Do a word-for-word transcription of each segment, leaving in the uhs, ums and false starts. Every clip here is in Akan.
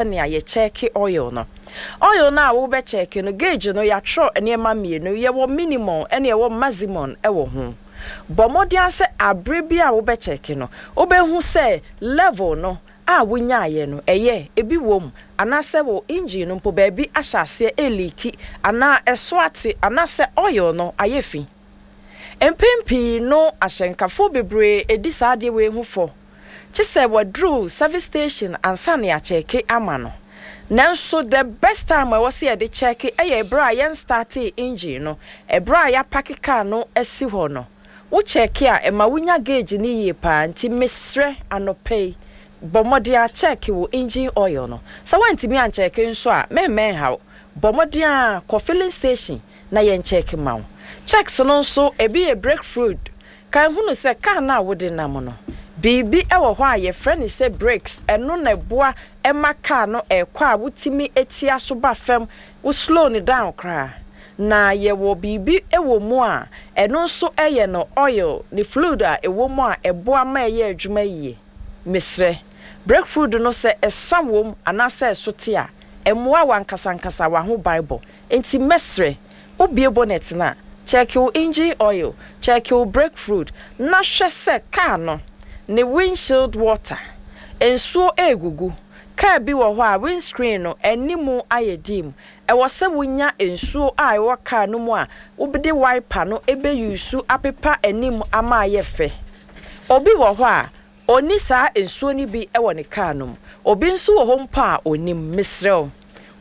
Sɛnea yɛkyɛɛke oil no, oil no a wobɛkyɛɛke no, gauge no yɛatwerɛ nneɛma mmienu: yɛwɔ minimum ɛne yɛwɔ maximum ɛwɔ ho. Bɔ mmɔden sɛ abere bi a wobɛkyɛɛke no, wobɛhu sɛ level no a wonyaeɛ no ɛyɛ ebi wɔ mu, anaasɛ wɔ engine no mpo baabi ahyɛ aseɛ ɛleaki anaa ɛso ate anaasɛ oil no ayɛ fi. Mpɛn pii no, ahyɛnkafoɔ bebree edi saa adeɛ wei ho fɔ kye sɛ wɔduru service station ansa na yɛakyɛke ama no. Nanso the best time a ɛwɔ sɛ yɛde kyɛke ɛyɛ ɛberɛ a yɛn startee engine no, ɛberɛ a yɛapake car no asi hɔ no. Wokyɛke a, ɛma wonya gauge no yie paa. Nti mesrɛ, anɔpa yi, bɔ mmɔden akyɛke wo engine oil no. Sɛ woantumi ankyɛke nso a, mɛmmɛn haw, bɔ mmɔden a kɔ filling station na yɛnkyɛke ma wo. Checks no nso, ebi yɛ brake fluid. Kan hunu sɛ car no a wode nam no, biribi wɔ hɔ a yɛfrɛ no sɛ brakes. Ɛno na ɛboa ɛma car no ɛkɔ a wotumi etia so ba fam, wo slow no down koraa. Na yɛwɔ biribi wɔ mu a ɛno nso yɛ no oil ne fluid a ɛwɔ mu a ɛboa ma ɛyɛ adwuma yie. Mesrɛ, brake fluid no, sɛ ɛsa wɔ mu anaasɛ ɛso te a, ɛmmoa w'ankasa w'aho banbɔ. Nti mɛsrɛ, wobie bonnet no a, check wo engine oil, check wo brake fluid, na hwɛ sɛ car no ne windshield water nsuo egugu. Car bi wɔ hɔ a windscreen no animu ayɛ dim. Ɛwɔ sɛ wonya nsuo a ɛwɔ car no mu a wobɛde wiper no ɛbɛyusu apepa anim ama ayɛ fɛ. Obi wɔ hɔ a ɔni saa nsuo no bi wɔ ne car no mu, obi nso wɔ hɔ mpo a onim. Mesrɛ,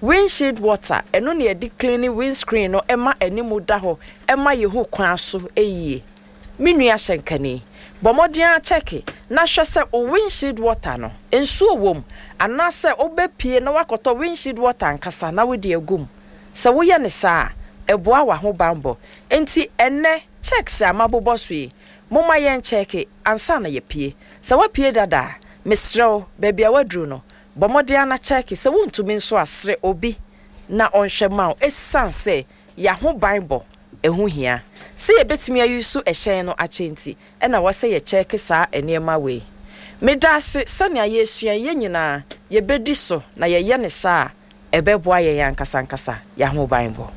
windshield water, ɛno na yɛde clean windscreen no ɛma anim da hɔ, ɛma yɛhu kwan so yie. Me nua hyɛnkani, bɔ mmɔden akyɛke na hwɛ sɛ o windshield water no nsuo wɔ mu, anaasɛ wobɛpie na wakɔtɔ windshield water ankasa na wode agu mu. Sɛ woyɛ ne saa a, ɛboa w'aho banbɔ. Nti ɛnɛ checks a mabobɔ so yi, momma yɛn kyɛke ansa na yɛpie. Sɛ woapie dada a, mesrɛ wo, baabi a woaduru no, bɔ mmɔden ana kyɛke. Sɛ wontumi nso asrɛ obi na ɔnhwɛ ma wo, ɛsiane sɛ yɛaho banbɔ ɛho hia sɛ yɛbɛtumi ayi so ɛhyɛn no akyɛ. Nti ɛna wɔ sɛ yɛkyɛke saa nneɛma wei. Meda ase sɛnea yɛsua yɛn nyinaa yɛbɛdi so na yɛyɛ ne saa a, ɛbɛboa yɛn ankasa ankasa yɛaho banbɔ.